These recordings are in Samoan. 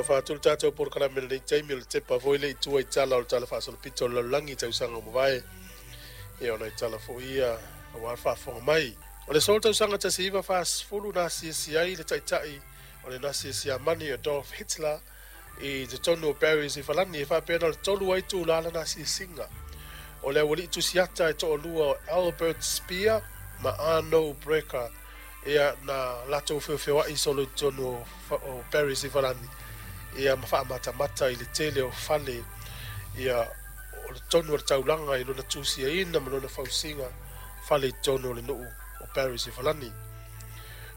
Fatu le tatou polokalame i lenei taimi, o le tepa foi le i tua i tala o le Tala Faasolopito o le Lalolagi i tausaga ua mavae. Ia o nai tala foi ia aua le faafofoga mai. O le aso tausaga 1940 na asiasi ai le taitai o le Nasi Siamani Adolf Hitler i totonu o Paris i Falani, e faapea na o le 3 ai itula lana asiasiga. O le aualii tusiata e toalua o Albert Speer ma Arno Breker, ia na latou feofeoai solo i totonu o Paris i Falani, ia ma faamatamata i le tele o fale, ia o le tonu o le taulaga i lona tusiaina ma lona fausiga fale i totonu o le nuu o Paris i Falani.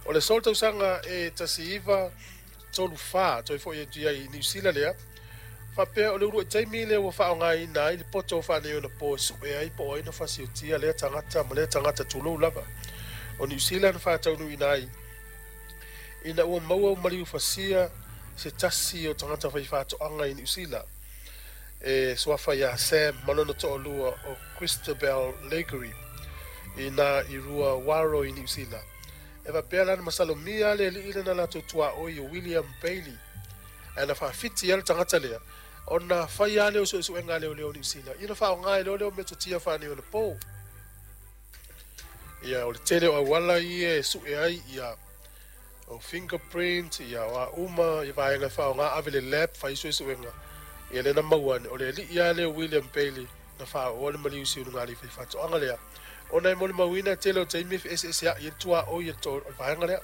O le aso tausaga e 1934 toe foi atu ai i Niu Sila lea, faapea o le uluai taimi lea ua faaaogaina ai le poto faaneionapo e sue ai po o ai na fasiotia lea tagata ma lea tagata, tulou lava. O Niu Sila na faataunuuina ai ina ua maua maliu fasia se tasi o tagata faifaatoaga i Niu Sila e suafa ia Sam ma lona toalua o Christabel Lagery ina i Rua Waro i Niu Sila. E faapea la na masalomia le alii lena latou tuaoi o William Bailey, ae na faafiti ai le tagata lea ona fai lava lea o suesuega a leoleo o Niu Sila, ia na faaaoga ai loa lea o metotia faaneionapo. Ia o le tele o auala ia e sue ai ia o fingerprint, ia o a uma ia vaega e faaaoga, ave le lab fai suesuega, ia lea na maua ane o le alii lava lea o William Bailey na faaoa le maliu i luga alii faifaatoaga lea, ona e molimauina e tele o taimi e feeseeseai ai le tuaoi o le vaega lea.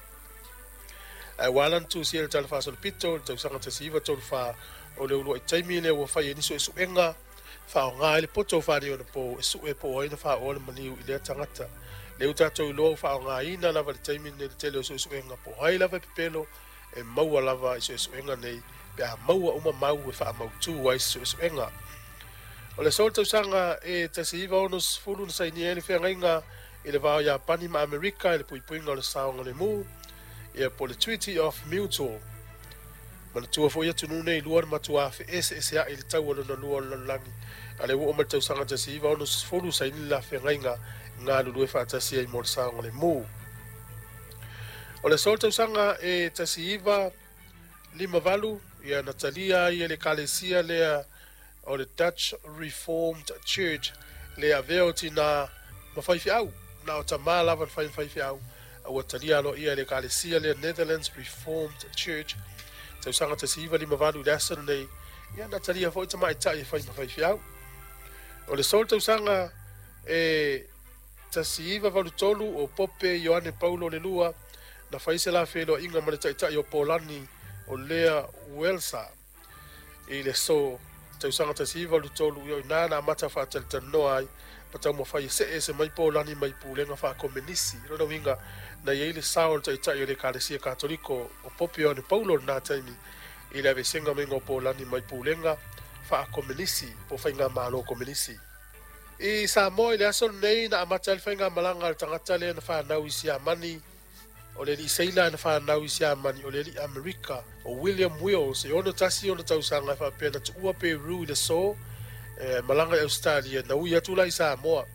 Ae ua ala ona tusia i le Tala Faasolopito i le tausaga 1934, o le uluai taimi lea ua fai ai ni suesuega faaaoga ai le poto faaneionapo e sue po o ai na faaoa le maliu i lea tagata. Lea ua tatou iloa ua faaaogaina lava i le taimi lenei le tele o suesuega po o ai lava e pepelo e maua lava i suesuega nei pe a maua uma mau e faamautu ai se suesuega. O le aso o le tausaga e 1960 na sainia ai le feagaiga i le va o Iapani ma Amerika i le puipuiga o le saogalemu, ia po o le Treaty of Mutual. Manatua foi atunuu nei lua na matua feeseeseai i le taua lona lua o le lalolagi, a lea ua oo mai le tausaga 1960 saini le la feagaiga galulue faatasi ai mo le saogalemu. O le aso o le tausaga e 1958, ia na talia ai e le ekalesia lea o le Dutch Reformed Church le avea o tina ma faifeau, na o tamā lava na fai ma faifeau, a ua talia aloaia e le ekalesia lea Netherlands Reformed Church tausaga 1958 i le aso lenei, ia na talia foi tamaitai e fai ma faifeau. O le aso o le tausaga e 1983 o Pope Ioane Paulo le Lua na fai se la feiloaiga ma le taitai o Polani o Lea Welsa i le aso tausaga 1983, ia o ina na amata faatalatalanoa ai ma taumafai e see ese mai Polani mai pulega faakomenisi. I lona uiga na i ai le sao o le taitai o le Ekalesia Katoliko o Pope Ioane Paulo lena taimi i le aveesega maiga o Polani mai pulega faakomenisi po o faigamalo komenisi. I Samoa i le aso lenei na amata ai le faigamalaga a le tagata lea na fanau i Siamani, o le alii seila na fanau i Siamani, o le alii Amerika o William Wills, e 61 ona tausaga, e faapea na tuua Peru i le aso e malaga i Ausetalia, na ui atu la i Samoa.